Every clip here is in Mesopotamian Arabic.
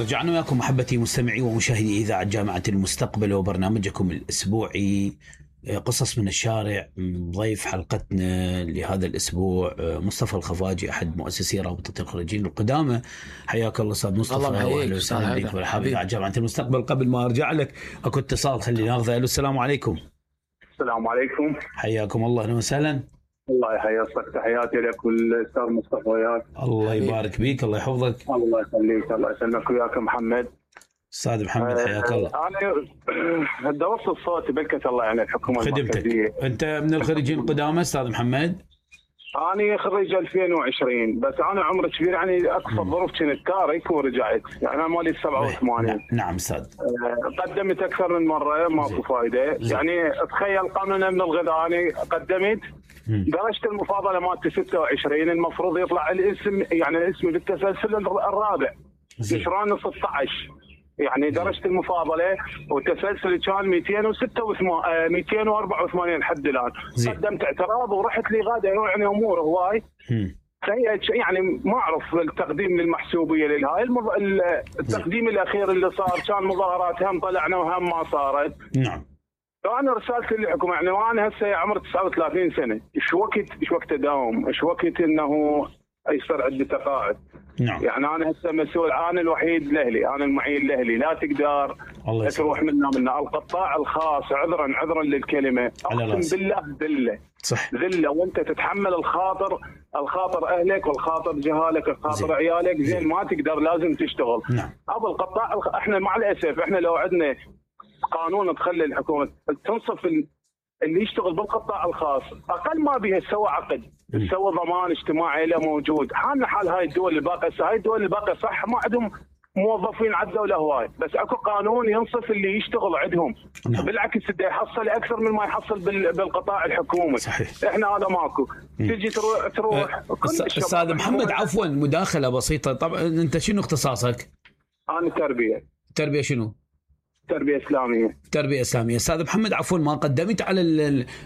رجعنا وياكم محبتي مستمعي ومشاهدي إذاعة جامعة المستقبل وبرنامجكم الأسبوعي قصص من الشارع. ضيف حلقتنا لهذا الأسبوع مصطفى الخفاجي أحد مؤسسي رابطة الخريجين القدامى. حياك الله أستاذ مصطفى، وأهلا وسهلا بك بالحبيب على جامعة المستقبل. قبل ما أرجع لك أكو اتصال خلينا ناخذه. السلام عليكم. السلام عليكم، حياكم الله. أهلا وسهلا. الله يحييك، تحياتي لك والأستاذ مصطفى وياك. الله يبارك بيك، الله يحفظك. الله يخليك، الله يسلمك وياك محمد. أستاذ محمد حياك الله. أنا درست الصوت بلكة الله يعني الحكومة المركزية. أنت من الخريجين القدامى أستاذ محمد؟ أنا خريج 2020 بس أنا عمري كبير يعني أكثر ظروف كنت تارك ورجعت يعني أنا مالي 87. نعم أستاذ. قدمت أكثر من مرة ماكو فايدة يعني. تخيل قانون من الغذاء أنا قدمت درجة المفاضلة مالتي 26 المفروض يطلع الاسم يعني الاسم بالتسلسل الرابع شلون 16 يعني درجة المفاضلة والتسلسل كان 284 حد الآن. قدمت اعتراض ورحت لي غادة يعني أمور هواي يعني ما أعرف التقديم للمحسوبية للهاي التقديم الأخير اللي صار كان مظاهرات هم طلعنا وهم ما صارت. نعم. فأنا رسالتي للحكومة يعني وأنا هسه عمري 39 سنة إيش وقت أداوم إيش وقت إنه يصير عندي تقاعد. نعم. يعني أنا هسه مسؤول، أنا الوحيد لأهلي، أنا المعين لأهلي، لا تقدر تروح منا القطاع الخاص عذرا للكلمة أقسم بالله ذلة. صح. ذلة وأنت تتحمل الخاطر أهلك والخاطر جهالك والخاطر عيالك زين ما تقدر لازم تشتغل. نعم. أبو القطاع إحنا مع الأسف إحنا لو عندنا قانون تخلي الحكومة تنصف اللي يشتغل بالقطاع الخاص اقل ما بيها سوى عقد سوى ضمان اجتماعي له موجود. حالنا حال هاي الدول الباقيه، هاي الدول الباقيه صح ما عندهم موظفين على الدوله هواي بس اكو قانون ينصف اللي يشتغل عندهم. بالعكس بده يحصل اكثر من ما يحصل بالقطاع الحكومي. صحيح. احنا هذا ماكو. تجي تروح استاذ محمد عفوا مداخله بسيطه. طبعا انت شنو اختصاصك؟ انا تربيه شنو؟ تربية إسلامية. أستاذ محمد عفوا ما قدمت على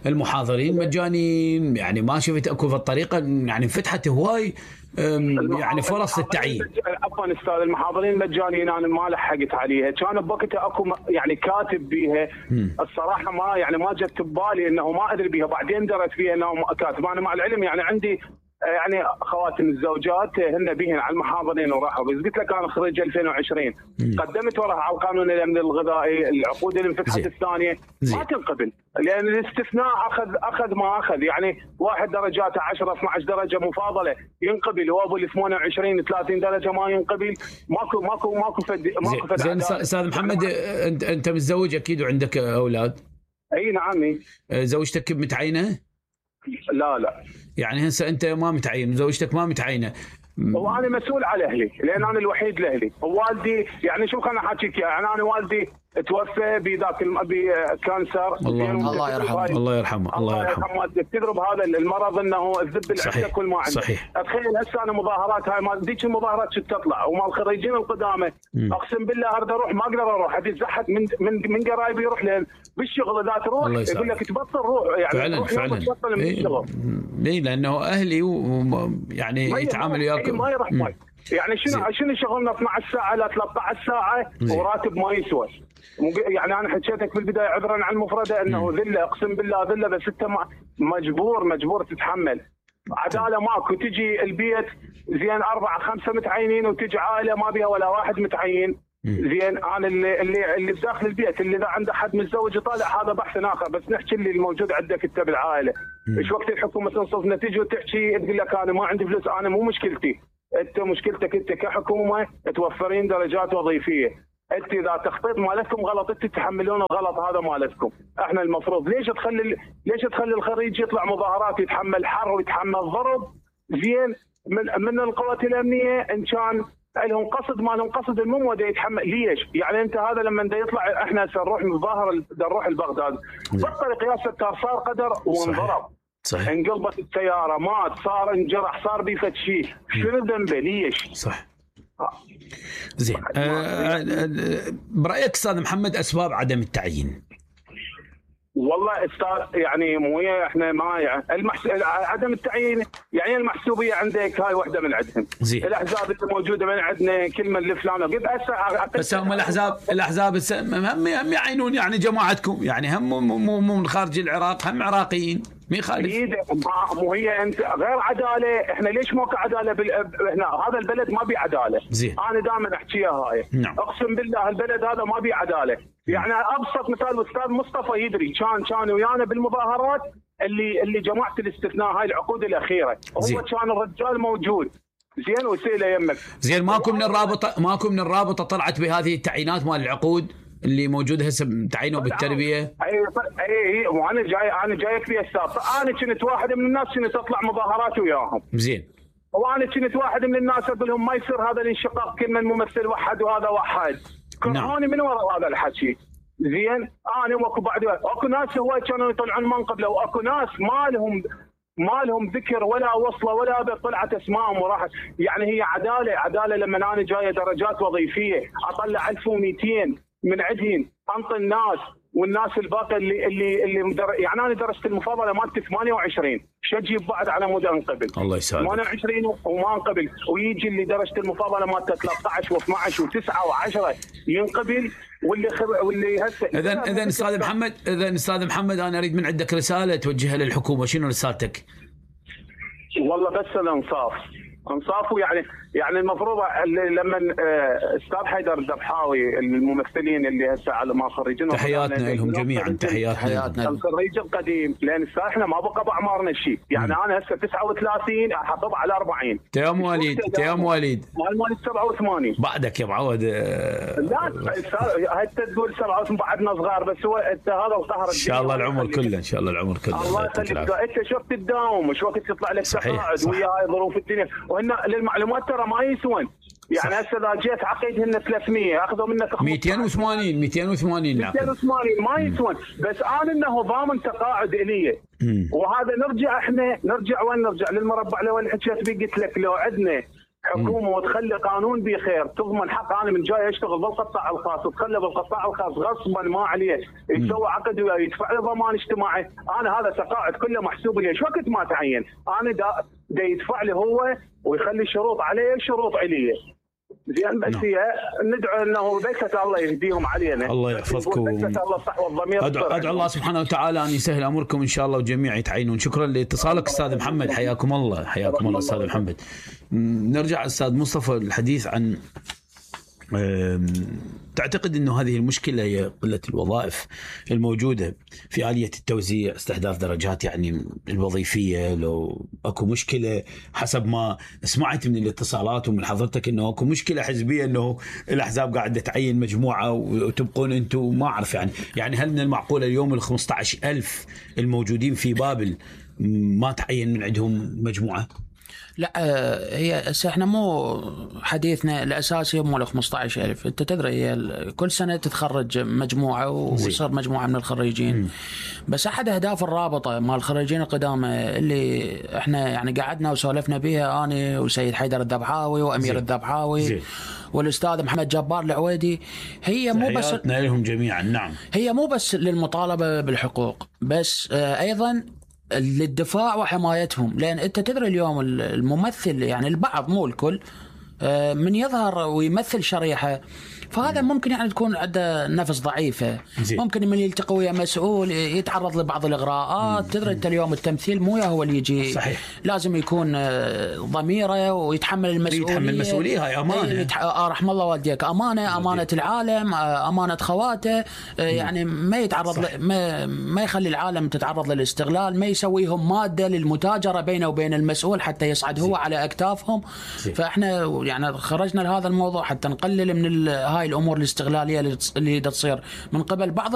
المحاضرين مجانين يعني ما شفت أكو في الطريقة يعني فتحت هواي يعني فرص للتعيين. عفوا أستاذ المحاضرين مجانين أنا ما لحقت عليها كان بوقتها أكو يعني كاتب بيها الصراحة ما جت ببالي إنه ما أدري بيها بعدين درت فيها إنه كاتب. أنا مع العلم يعني عندي يعني خواتم الزوجات هن بيهن على المحاضرين وراحوا بس قلت لك انا خريج 2020 قدمت وراها على القانون الامن الغذائي العقود اللي انفتحت الثانيه ما تنقبل لان الاستثناء اخذ ما اخذ يعني واحد درجاته 10 12 درجه مفاضله ينقبل وابو ال 28 30 درجه ما ينقبل. ماكو فد زين استاذ محمد انت متزوج اكيد وعندك اولاد؟ اي نعم. زوجتك متعينه؟ لا يعني هسه انت ما متعين وزوجتك ما متعينه. وانا مسؤول على اهلي لان انا الوحيد لاهلي. ووالدي يعني شوف انا حاحكيك يعني انا والدي توفى بذاك بكانسر. الله يرحمه. الله يرحمه. تضرب هذا المرض انه الذب اللي عندك كل ما عندك. صحيح. اتخيل هسه انا مظاهرات هاي ما ديك المظاهرات شو تطلع ومال الخريجين القدامى اقسم بالله اريد اروح ما اقدر اروح ابي اتزحت من قرايبي يروح لين بالشغل اذا تروح يقول لك تبطل روح يعني فعلا تبطل من الشغل. ليه؟ لانه اهلي يعني يتعامل وياك ما يروح يعني شنو شغلنا 12 ساعه لا 13 ساعه وراتب ما يسوى. يعني انا حكيتك في البدايه عذرا عن المفرده انه ذله اقسم بالله ذله بس انت مجبور تتحمل. عداله ماكو. تجي البيت زين 4 5 متعينين وتجي عائله ما بيها ولا واحد متعين. زين انا اللي بداخل البيت اللي اذا عنده حد متزوج طالع هذا بحث اخر بس نحكي اللي الموجود عندك انت بالعائله. ايش وقت الحكومه تنصفنا تجي وتحكي تقول لك انا ما عندي فلوس. انا مو مشكلتي انت مشكلتك انت كحكومه توفرين درجات وظيفيه. انت اذا تخطيط مالتكم غلط انت تتحملون الغلط هذا مالتكم. احنا المفروض ليش تخلي الخريج يطلع مظاهرات يتحمل حر ويتحمل ضرب زين من القوات الامنيه ان كان لهم قصد ما لهم قصد المهم دا يتحمل. ليش؟ يعني انت هذا لما دا يطلع احنا سنروح نظاهر نروح لبغداد بالطريق يا ستار صار قدر وانضرب. صحيح. انقلبت السياره مات صار انجرح صار بيفت شيء شنو ذنبه ليش؟ صح. زين برأيك أستاذ محمد أسباب عدم التعيين؟ والله استاذ يعني مو احنا ما يعني عدم التعيين يعني المحسوبيه عندك هاي واحده من عندهم. الاحزاب اللي موجوده من عندنا كل من الفلان وقد هسه بس هم الاحزاب هم يعينون يعني جماعتكم يعني هم مو من خارج العراق هم عراقيين مين خالف؟ مو هي انت غير عداله. احنا ليش ماكو عداله هنا هذا البلد ما بيه عداله. انا دائما احكيها هاي. نعم. اقسم بالله البلد هذا ما بيه عداله. يعني ابسط مثال الاستاذ مصطفى يدري كان ويانا بالمظاهرات اللي جماعه الاستثناء هاي العقود الاخيره. هو كان الرجال موجود زين وسيله يمك زين. ماكو من الرابطه طلعت بهذه التعيينات مال العقود اللي موجوده هسه تعينوا بالتربيه. اي وانا جايك في السابق. انا كنت واحد من الناس كنت اطلع مظاهرات وياهم. زين. وانا كنت واحد من الناس اقول لهم ما يصير هذا الانشقاق كل من ممثل وحد وهذا وحد. كرهوني من وراء هذا الحكي. زين انا واكو بعد اكو ناس هواي كانوا يطلعون منقبله واكو ناس ما لهم ذكر ولا وصله ولا طلعت اسمائهم وراحت. يعني هي عداله لما انا جايه درجات وظيفيه اطلع 1200 من عندهم انطي الناس والناس الباقي اللي يعني انا درست المفاضله مالتي 28 شجيب بعد على مود انقبل. الله يسعدك. 28 وما انقبل ويجي اللي درست المفاضله مالته 13 و12 و9 و10 ينقبل واللي هسه. اذا استاذ محمد انا اريد من عندك رساله توجهها للحكومه. شنو رسالتك؟ والله بس الانصاف يعني المفروض لما استاذ حيدر الذبحاوي الممثلين اللي هسه على ما خريجين تحياتنا لهم جميعا. تحياتنا الخريج القديم لان احنا ما بقى باعمارنا شيء. يعني انا هسه 39 احافظ على 40. تيام مواليد مواليد 87 بعدك يا معود. لا هسه تقول 87 بعدنا صغار بس هو انت هذا القهر. ان شاء الله العمر كله الله يخليك. انت شو تداوم وشو وقت تطلع لك تقاعد ويا هاي ظروف الدنيا. وهن للمعلومات ترى ما يسون. يعني هسه اذا جيت عقيدهن 300 اخذوا منك 280 280 ما يسون. بس انا انه ضامن تقاعد الي. وهذا نرجع وين نرجع للمربع لو اللي حكيت بيه. قلت لك لو عندنا حكومه وتخلي قانون بخير تضمن حق. انا من جاي اشتغل بالقطاع الخاص وتخلي بالقطاع الخاص غصبا ما عليه يسوي عقد ويدفع له ضمان اجتماعي. انا هذا تقاعد كله محسوب لي. شو وقت ما تعين انا دا يدفع لي هو ويخلي شروط عليه شروط عليه. زين بس هي ندعو انه بيت الله يهديهم علينا. الله يحفظكم. الله صح والضمير. ادعو الله سبحانه وتعالى ان يسهل امركم ان شاء الله وجميع يتعينون. شكرا لاتصالك استاذ محمد. حياكم الله استاذ محمد. نرجع استاذ مصطفى الحديث عن تعتقد انه هذه المشكله هي قله الوظائف الموجوده في آلية التوزيع استحداث درجات يعني الوظيفيه. لو اكو مشكله حسب ما سمعت من الاتصالات ومن حضرتك انه اكو مشكله حزبيه انه الاحزاب قاعده تعين مجموعه وتبقون انتم ما اعرف يعني هل من المعقول اليوم ال 15,000 الموجودين في بابل ما تعين من عندهم مجموعه؟ لا هي احنا مو حديثنا الاساسي مو ال 15,000. انت تدري هي كل سنه تتخرج مجموعه ويصير مجموعه من الخريجين. بس احد اهداف الرابطه مال الخريجين القدامى اللي احنا يعني قعدنا وسولفنا بها انا وسيد حيدر الذبحاوي وامير الذبحاوي والاستاذ محمد جبار العويدي هي مو بس لهم جميعا. نعم هي مو بس للمطالبه بالحقوق بس ايضا للدفاع وحمايتهم. لأن أنت تدري اليوم الممثل يعني البعض مو الكل من يظهر ويمثل شريحة فهذا ممكن يعني تكون عنده نفس ضعيفة. ممكن من يلتقي ويا مسؤول يتعرض لبعض الإغراءات. تدري أنت اليوم التمثيل مو هو اللي يجي. صحيح. لازم يكون ضميره ويتحمل المسؤولية. هاي أمانة. رحم الله والديك. أمانة العالم أمانة خواته. يعني ما يتعرض ما يخلي العالم تتعرض للاستغلال. ما يسويهم مادة للمتاجرة بينه وبين المسؤول حتى يصعد هو على أكتافهم. فإحنا يعني خرجنا لهذا الموضوع حتى نقلل من هاي الأمور الاستغلالية اللي تصير من قبل بعض